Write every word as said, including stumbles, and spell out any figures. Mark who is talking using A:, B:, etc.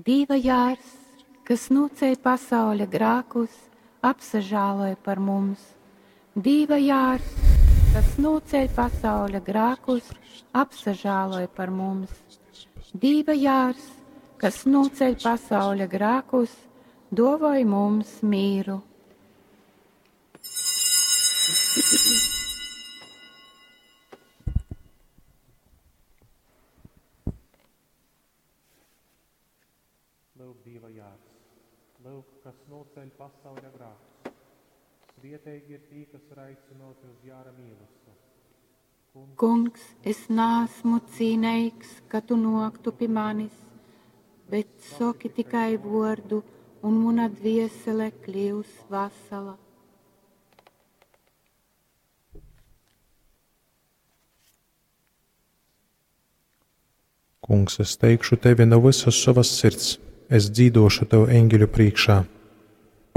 A: Dīva jārs, kas nūceļ pasauļa grākus, apsažāloj par mums. Dīva jārs, kas nūceļ pasauļa grākus, apsažāloj par mums. Dīva jārs, kas nūceļ pasauļa grākus, duovoj mums mīru.
B: Lyuk, Dīva jārs, lyuk, kas nūceļ pasauļa grākus. Svieteigi ir tī, kas ir aicynōti uz jāra mīlastu. Kungs,
A: Kungs, es naesmu cīneigs, ka tu nōktu pi manis, bet soki tikai vōrdu, un muna dviesele kļius vasala.
C: Kungs, es teikšu tevi nu vysas sovas sirds, es dzīdōšu tev eņgeļu prīškā.